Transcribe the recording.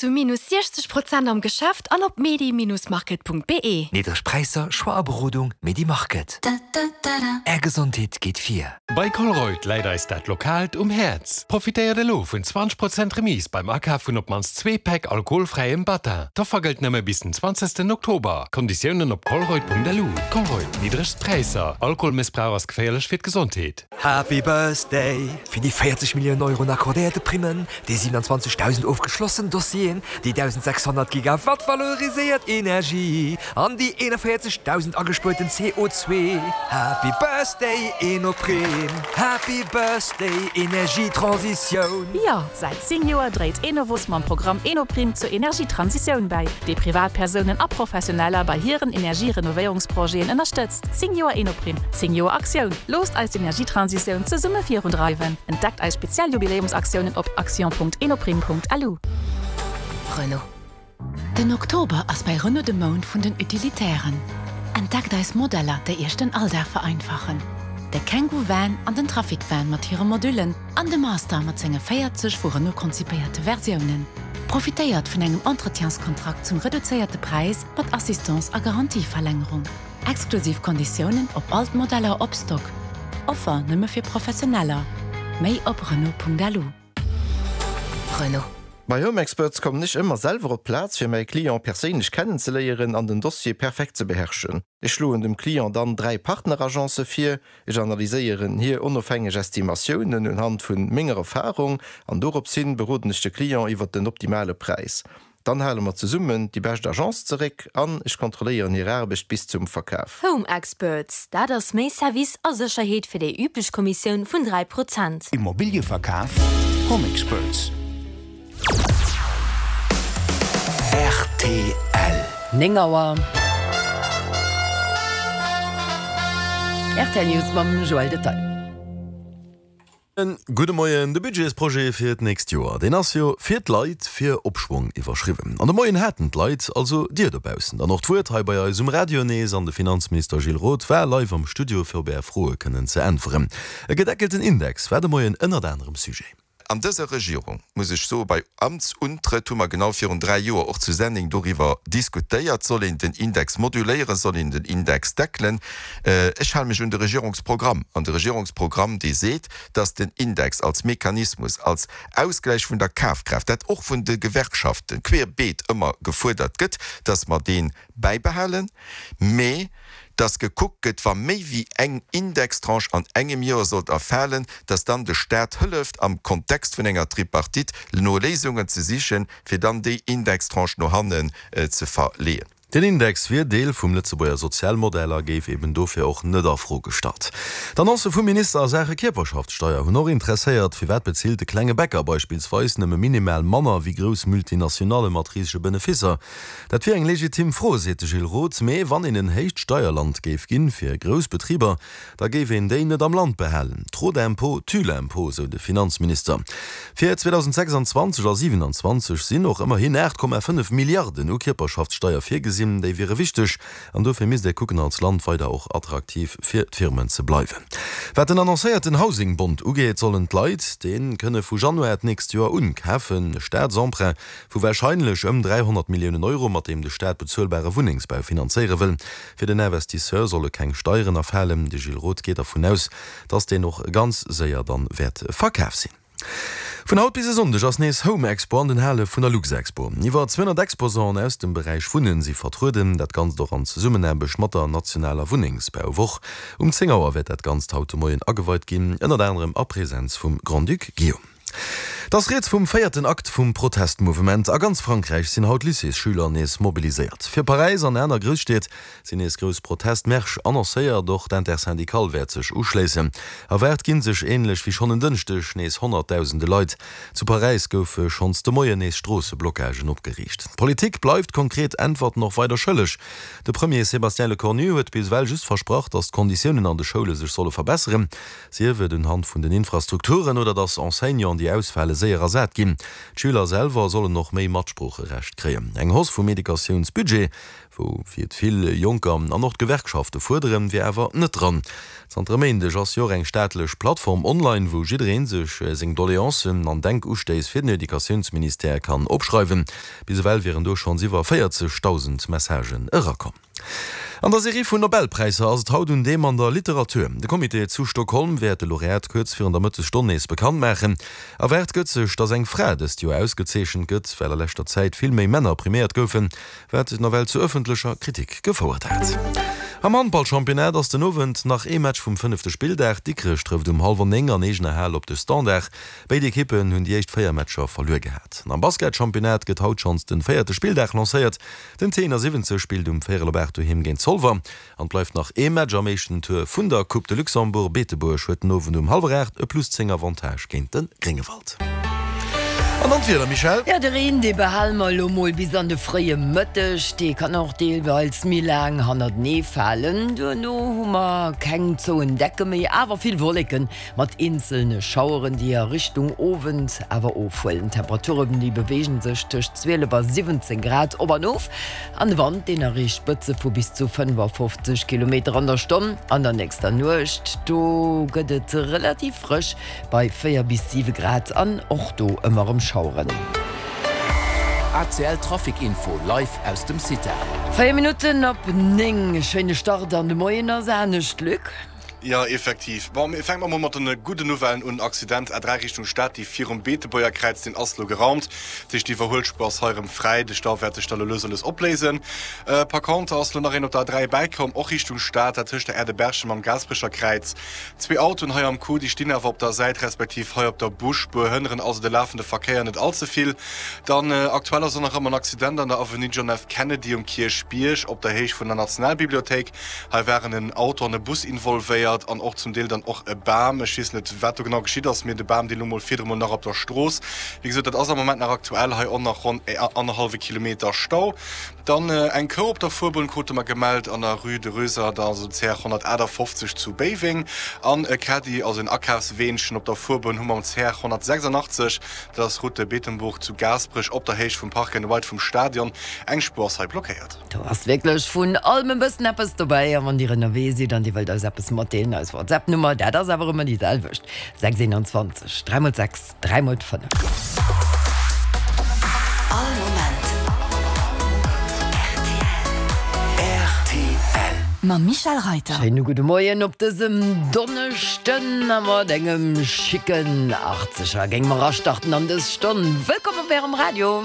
zu minus 60 Prozent am Geschäft an op medi-market.be. Niddreg Präisser, Choix a Berodung, Medi-Market. Är Gesondheet geet vir. Bei Colruyt läit eis dat Lokaalt um Häerz. Profitéiert elo vun 20 Prozent Remise beim Akaf vun op d'mannst zwee Päck alkoholfräiem Battin. D'Offer gëllt nëmme bis den 20 Oktober. Konditiounen op colruyt.lu. Colruyt, niddregst Präisser. Alkoholmëssbrauch ass geféierlech fir d'Gesondheet. Happy Birthday! Fir déi 40 Milliounen Euro un accordéierte Primmen, déi 27.000 ofgeschlossen Dossieren, déi 1.600 Gigawatt valoriséiert Energie an déi 41.000 agespuerten CO2. Happy Birthday Enoprime! Happy Birthday Energietransitioun! Jo, säit 10 Joer dréit Enovos mam Programm Enoprime zur Energietransitioun bäi, dee Privatpersounen a Professioneller bei hiren Energierenovéierungsprojeten ënnerstëtzt. 10 Joer Enoprime, 10 Joer Aktioun! Loosst eis d'Energietransitioun zesumme virundreiwen! Entdeckt eis speziell Jubiläumsaktiounen op action.enoprime.lu. Renault. Den Oktober ass bei Renault de Mount vun den Utilitairen. Entdeckt eis Modeller, déi Iech den Alldag vereinfachen. De Kangoo Van an den Trafic Van mat hire Modullen an de Master mat senge 40 vu Renault konzipéierte Versiounen. Profitéiert vun engem Entretienskontrakt zum reduzéierte Präis mat Assistance a Garantieverlängerung. Exklusiv Konditiounen op all d'Modeller op Stock. Offer nëmme fir Professioneller. Méi op Renault.lu. Renault. Bei Home Experts kommen ech ëmmer selwer op d'Plaz fir mäi Client perséinlech kennenzeléieren an den Dossier perfekt ze beherrschen. Ech schloen dem Client dann 3 Partneragence vir, ech analyséieren hir onofhängeg Estimatiounen unhand vun menger Erfahrung an dorops hin beroden ech de Client iwwert den optimale Präis. Dann hale mer zesummen déi bescht Agence zeréck an ech kontrolléieren hir Aarbecht bis zum Verkaf. Home Experts, dat ass méi Service a Sécherheet fir déi üblech Kommissioun vun 3 Prozent. Immobilieverkaf Home Experts. Rtl. 9 Auer. Rtl News mam Joël Detail. Gudde Moien. De Budgetsprojet fir d'nächst Joer, deen ass jo fir d'Leit, fir Opschwong iwwerschriwwen. An de Moien haten d'Leit, also Dir dobaussen, dann och d'Wuert hei bei eis um Radio nees an de Finanzminister Gilles Roth war live am Studio fir op Är Froe kënnen ze äntweren. E gedeckelten Index war de Moien ënnert anerem Sujet. An dëser Regierung, muss ech soen, bei Amtsuntrëtt hu mer genau virun 3 Joer och zu Senneng doriwwer diskutéiert, soll een den Index moduléieren, soll een den Index deckelen. Ech hale mech un de Regierungsprogramm, an de Regierungsprogramm, dee seet, dass den Index als Mechanismus, als Ausgläich vun der Kafkraaft, dat och vun de Gewerkschaften querbeet ëmmer gefuerdert gëtt, dass mer dee bäibehalen, mä dass gekuckt gëtt, wa méi wéi eng Indextranche an engem Joer sollt erfalen, dass dann de Stat hëlleft, am Kontext vun enger Tripartite no Léisungen ze sichen, fir dann déi Indextranche no hannen ze verleeën. Den Index wier Deel vum Lëtzebuerger Sozialmodell a géif eben dofir och net a Fro gestallt. D'Annoncë vum Minister a Saache Kierperschaftssteier hunn och interesséiert. Firwat bezilt de klenge Bäcker beispillsweis nëmme minimal manner wéi grouss Multinationalle mat risege Benefisser? Dat wier eng legitim Fro, seet de Gilles Roth. Mee wann een en héicht Steierland géif ginn, fir grouss Betriber, da géif een déi net am Land behalen. Trop d'impôts tue l'impôt, sou de Finanzminister. Fir 2026 a 27 sinn och ëmmerhin 8,5 Milliarden u Kierperschaftssteier virgesinn. Déi wiere wichteg an dofir misst ee kucken, als Land weider och attraktiv fir d'Firmen ze bleiwen. Wat den annoncéierten Housing-Bond ugeet, sollen d'Leit dee kënne vu Januar d'nächst Joer un kafen. E Staatsemprunt Vu warscheinlech ëm 300 Milliounen Euro, mat deem de Staat bezuelbare Wunnengsbau finanzéiere wëll. Fir den Investisseur solle keng Steieren erfalen. De Gilles Roth geet dervun aus, datt deen och ganz séier dann wäert verkaf sinn. Vun haut bis e Sonndeg ass nees Home Expo an den Hale vun der Luxexpo. Iwwer 200 Exposanten aus dem Beräich Wunnen si vertrueden. Dat Ganzt och an Zesummenaarbecht mat der nationaler Wunnengsbauwoch. Um 10 Auer wäert dat Ganzt haut de Moien ageweit ginn, ënnert anerem a Presenz vum Grand-Duc Guillaume. Et ass rieds vum véierten Akt vum Protestmouvement. A ganz Frankräich sinn haut Lycéesschüler nees mobiliséiert. Fir Paräis an aner Grousstied sinn nees grouss Protestmärsch annoncéiert. Och d'Intersyndicale wäert sech uschléissen. Erwaart ginn sech, änlech wéi schonn en Dënschdeg, nees honnertdausende Leit. Zu Paräis goufe schonns de Moien nees Stroosseblockagen opgeriicht. D'Politik bleift konkret Äntwerten och weider schëlleg. De Premier Sébastien Lecornu huet bis ewell just versprach, datt d'Konditiounen an de Schoule sech solle verbesseren. Sief et unhand vun den Infrastrukturen oder dass Enseignanten, déi ausfale. séier ersat ginn. D'Schüler selwer sollen och méi Matsproocherecht kréien. Eng Hausse vum Educatiounsbudget, wou fir et vill Jonker an och d'Gewerkschafte fuerderen, wier awer net dran. Zanter e Méindeg ass jo och eng staatlech Plattform online, wou jidderee sech seng Doleancen an Denkustéiss fir den Educatiounsministère kann opschreiwen. Bis ewell wieren do schonns iwwer 40.000 Messagen erakomm. An der Serie vun Nobelpräisser ass et haut un deem an der Literatur. De Comité zu Stockholm wäert de Laureat kuerz virun der Mëttesstonn nees bekannt maachen. Erwaart gëtt sech, datt eng Fra dëst Joer ausgezeechent gëtt, well a leschter Zäit vill méi Männer priméiert goufen, wat nawell zu ëffentlecher Kritik gefouert hat. Am Handballchampionnat ass den Owend nach ee Match vum fënnefte Spilldag. Dikrech trëfft um hallwer 9 an eegener Hal op de Standard. Béid Ekippen hunn déi éischt 4 Matcher verluer gehat. An am Basketchampionnat gëtt haut schonns den véierte Spilldag lancéiert. Den T71 spillt um véierel op 8 doheem géint Zolwer. An et bleift nach ee Match am éischten Tour vun der Coupe de Luxembourg. Beetebuerg huet den Owend um hallwer 8 e plus 10 Avantage géint de Gréngewald. An dann d'Wieder, Michèle? Jo, de Reen, dee behale mer elo mol bis an de fréie Mëtteg. Dee kann och deelweils méi laang hannertenee falen. Duerno hu mer keng zouen Decke méi, awer vill Wolleken mat eenzelne Schaueren, déi a Richtung Owend awer ofhuelen. D'Temperaturen, déi beweege sech tëscht 12 a 17 Grad op an of. An de Wand, deen erreecht Spëtze vu bis zu 55 Kilometer an der Stonn. An der nächster Nuecht, do gëtt et relativ frësch bei 4 bis 7 Grad an och do ëmmer erëm Schaueren. ACL Trafic Info live aus dem CITA. 4 Minutten op 9, schéine Start an de Moien ass anescht, Luc. Jo, effektiv. Bon, mir fänke mol mat de gudden Nouvellen un. Accident A3 Richtung Stad, déi virum Beetebuerger Kräiz, deen ass lo geraumt. Dat heescht, d'Iwwerhuelspuer ass hei erëm fräi. De Stau wäert sech da lo lues a lues opléisen. Par contre ass lo nach een op der A3 bäikomm, och Richtung Stad, dat tëscht der Aire de Berchem am Gaasperecher Kräiz. Zwee Autoen hei am Coup, déi stinn awer op der Säit respektiv hei op der Busspuer, hënneren also de lafende Verkéier net all ze vill. Dann aktuell ass och nach ëmmer en Accident an der Avenue John F. Kennedy um Kierchbierg op der Héicht vun der Nationalbibliothéik. Hei waren en Auto an e Bus involvéiert an och zum Deel dann och e Bam. Ech weess net, wat do genau geschitt ass, mee de Bam, dee lo mol virdru mol nach op der Strooss. Wéi gesot, dat ass am Moment nach aktuell. Hei och nach ronn annerhallwe Kilometer Stau. Dann eng Kou op der Fuerbunn krute mer gemellt an der Rue de Rösert, also CR 158 zu Béiweng. An e Caddy, also en Akafsweenchen op der Fuerbunn hu mer um CR 186, dat ass Route de Beetembourg zu Gaasperech op der Héicht vum Park and Ride vum Stadion. Eng Spuer ass hei blockéiert. Do ass wierklech vun allem e bëssen eppes dobäi. A wann Dir ënnerwee sidd an Dir wëllt eis eppes matdeelen, eis WhatsApp-Nummer, dat ass awer ëmmer déi selwecht, 6 21 3 mol 6 3 mol 5. All Moment rtl. Mam Michèle Reiter. Schéine gudde Moien op dësem Donneschden a mat engem schicken Achtzeger géinge mer astarten an dës Stonn. Wëllkomm op Ärem Radio.